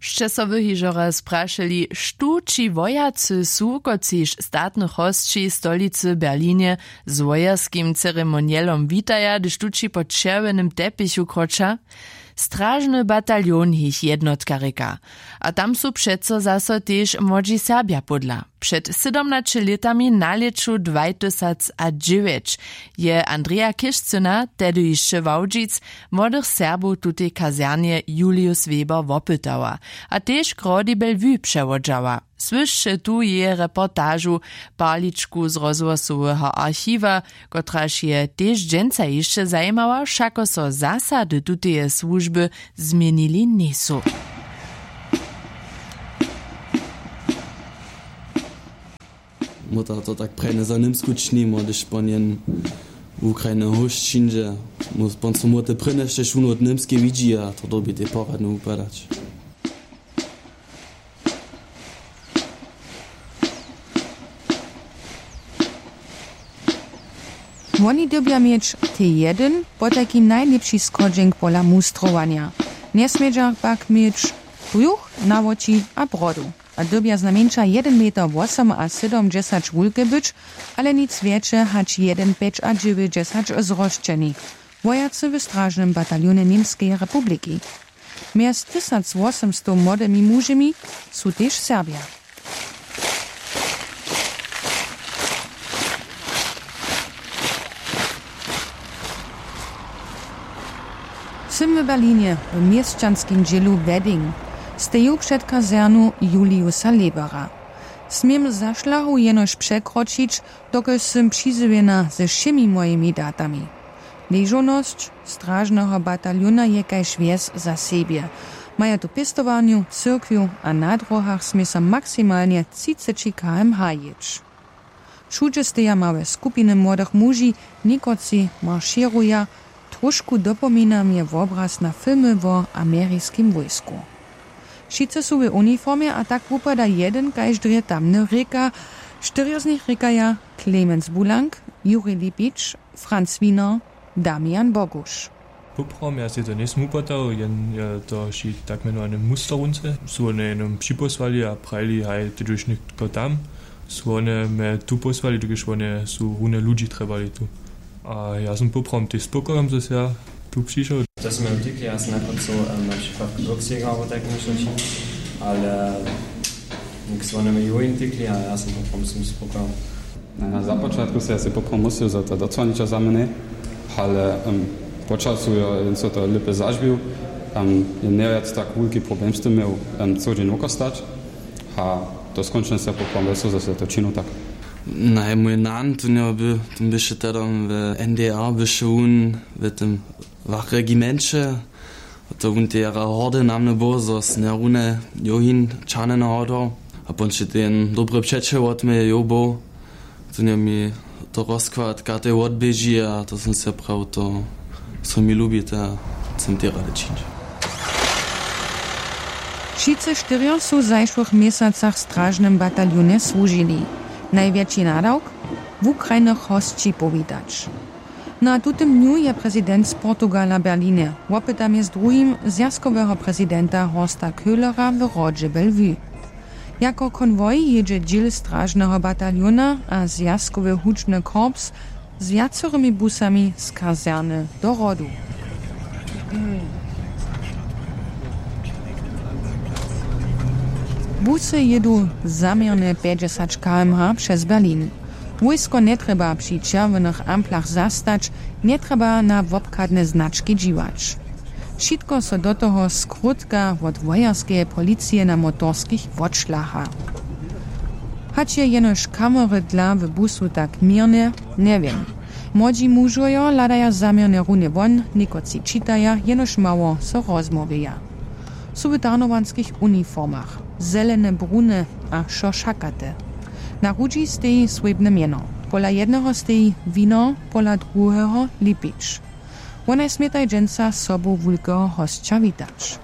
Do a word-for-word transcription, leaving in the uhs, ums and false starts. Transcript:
Sće so wy hižo raz prašeli, štó ći wojacy su, kotřiž statnych hosći w stolicy Berlinje z wojerskim ceremonielom witaja, hdyž tući po čerwjenym tepichu kroča? Stražny bataljon jich jednotka rěka. A tam su přeco zaso tež młodźi Serbja pódla. Před sydomnaće lětami na lěću dwajtysacadźewjeć je Andreja Kišcyna, tehdy hišće Wałdźic, młodych Serbow w tutej kazernje Julius Weber wopytała a tež k Rody Bellevue přewodźała. Słyšće tu jeje reportažu, parličku z rozhłosoweho archiwa, kotraž je tež dźensa hišće zajimała, wšako so zasady tuteje słužby změnili njejsu. Móta to tak prajne za Němsku činimo, hdyž pon jen Ukrajiny hóšćindźe, pon so móte prěnješte šunu wot Němskej widźi a to dyrbi tej poradnje wupadać. Woni dyrbja měć tej jedyn, potajkim najlěpši schodźenk pola mustrowanja. Njesmědźa pak měć brjuch, nawoči a brodu. A dyrbja znajmjeńša jedyn meter wosomasydomdźesać wulke być, ale nic wjetše hač jedyn pjećadźewjećdźesać zrosćeni. Wojacy w stražnym bataljonje Němskeje republiki. Mjez tysacwosomstow młodymi mužemi su tež Serbja. Sym w Berlinje w měsćanskim dźělu Wedding, steju před kazernu Juliusa Lebera. Směm za šlahu jenož překročić, dokelž sym přizjewjena ze wšěmi mojimi datami. Ležownosć stražneho bataljona je kaž wjes za sebje. Maja tu pěstowarnju, cyrkwju a na dróhach smě so maksimalnje třiceći kmh jěć. Wšudźe steja małe skupiny młodych muži, někotři maršěruja, tróšku dopomina mje wobraz na filmy wo ameriskim wójsku. Wšitcy su w uniformje a tak wupada jedyn kaž drje tamny rěka. Štyrjo z nich rěkaja: Clemens Bulank, Juri Lipić, Franz Wiener, Damian Boguš. Poprawom ja sej to njejsym wupytał, jen je to wšej tak mjenowany musterunce, su wone jeno připósłali a prajili: Haj, ty dźeš nětko tam. Su wone mje tu pósłali, dokelž wone su runje ludźi trjebali tu. A ja sym poprawom tež spokojom, zo sym ja tu přišoł. To su mje wtikli, ja sym najprjedy chcał na přikład k Glücksjäger abo tak něšto čiń, ale nik su wone mje jurin wtikli a ja sym poprawom sym spokojom. Na započatku sej ja sej poprawom myslił, zo to docwaniča za mnje, ale po času jo jen so to lěpje zažwił. Jen njewjac tak wulki problem z tym měł, co dźeń wokostać. A to skónčnje sej poprawom wjesło, zo sej to činił tak. Naj, mój nan tu njeho by, tym běše tedom w N D R běše wón w tym wachregimenće. To wón te jara hordy na mne był, zo snjerune johin čahne na hordo. A ponče ten dobry přećel wot mje jo był, to nje mi to rozkład katej wotběži a to sym se praw to, so mi lubi, to sym te rady čińć. Wšitcy štyrjo su w zašłych měsacach w stražnym bataljonje słužili. Najwjetši nadawk: wukrajnych hosći powitać. Na tutym dnju je prezident z Portugala w Berlinje, wopyta mjez druhim zwjazkoweho prezidenta Horsta Köhlera w Hrodźe Bellevue. Jako konwoj jědźe dźěl stražneho bataljona a zwjazkowy hudźbny korps z wjacorymi busami z kazerny do Hrodu. Busy jědu zaměrnje pjećdźesać kmh přez Berlin. Wójsko njetrjeba při čerwjenych amplach zastać, njetrjeba na wobchadne znački dźiwać. Wšitko so do toho skrótka wot wojerskeje policije na motorskich wotšlaha. Hač je jenož kamery dla w busu tak měrne, njewěm. Młodźi mužojo hladaja zaměrnje runje won, někotři čitaja, jenož mało so rozmołwjeja. Su w tarnowanskich uniformach, zelene, brune a wšo šakate. Na hudźi steji swójbne mjeno. Pola jedneho steji Wiener, pola druheho Lipić. Wonaj smjetaj dźensa sobu wulkeho hosća witać.